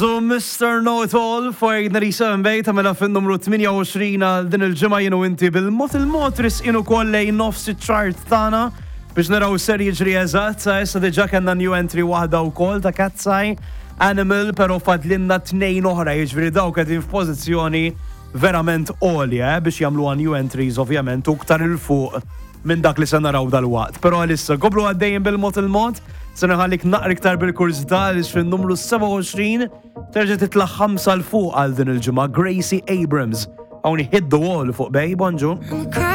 Tears u Mr. Know It All fuq 97 Bay tagħmilha fin-numru 28 għal din il-ġimgħa jien u inti bil-mod il-mod risqin ukoll lejn nofs iċ-chart tagħna biex naraw ser jiġri eżatt sa issa diġà kellna new entry waħda wkoll ta' Katseye Animal però fadlinna tnejn oħra jiġifieri dawk qegħdin f'pożizzjoni verament għolja eh, biex jagħmluha new entries ovvjament u iktar 'il fuq minn dak li se naraw dalwaqt. Però għalissa komplu għaddejjin bil-mod il-mod, se nħallik naqra iktar bil-kurżità għaliex fin-numru 27 terġa' titla' ħamsa 'l fuq għal din il-ġimgħa Gracie Abrams. Hawn Hit the Wall fuq Bay, bonġu.